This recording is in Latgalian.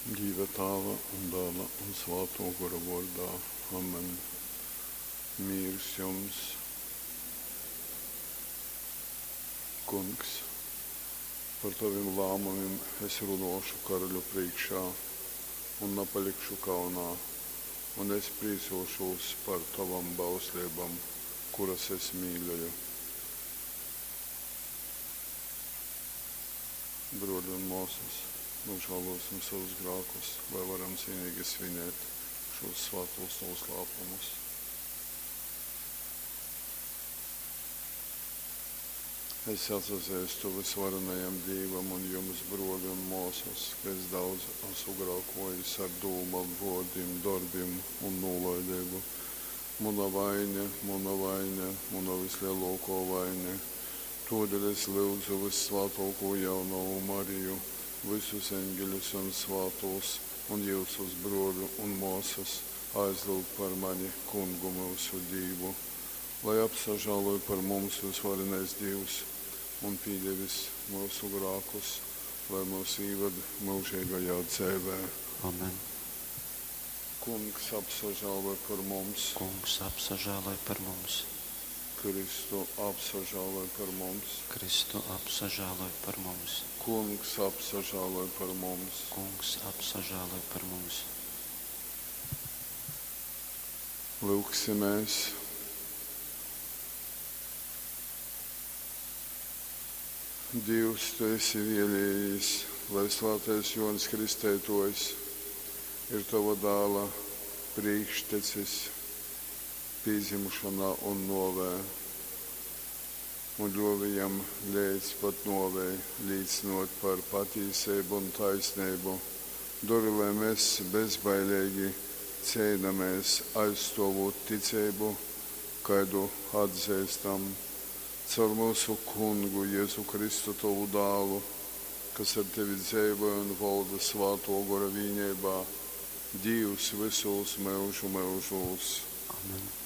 Dīva Tāva un Dāla un Svātō Gora vōrdā. Amen. Mīrs jums. Kungs, par tovim lāmumim es runōšu karaļu prīškā un napalikšu kaunā, un es prīcōšūs par tovom bausleibom, kuras es mīļoju. Brōli un mōsas, nūžālōsim savus grākus, lai varam cienīgi svinēt šos svātos noslēpumus. Es atsazeistu vysvarenajam Dīvam un jums, brōli un mōsas, ka es daudz esmu grākōjis ar dūmom, vōrdim, dorbim un nūlaideibu. Muna vaine, muna vaine, muna vyslelōkō vaine. Tōdēļ es lyudzu vyssvātōkū jaunovu Mariju, vysus eņgeļus un svātūs un jyusus, brōļu un mōsas, aizlyugt par mani Kungu myusu Dīvu. Lai apsažāloj par mums vysvarenais Dīvs un pīdevis myusu grākus, lai myus īvad myužeigajā dzeivē. Amen. Kungs apsažāloj par mums. Kungs apsažāloj par mums. Kristu apsažāloj par mums. Kristu apsažāloj par mums. Kungs apsažāloj par mums. Kungs apsažāloj par mums. Lyugsimēs. Dīvs, tu esi vēlējies, lai svātais Jōņs Kristeitōjs ir tova dāla prīkštecis pīdzimšonā un nōvē, un ļōvi jam leidz pat nōvei līcynōt par patīseibu un taisneibu. Dori, lai mes bezbaileigi ceinamēs, aizstōvūt ticeibu, kaidu atzeistam. Caur myusu Kungu Jezu Kristu, tovu Dālu, kas ar tevi dzeivoj un volda Svātō Gora vīneibā, Dīvs vysūs myužu myužūs. Amen.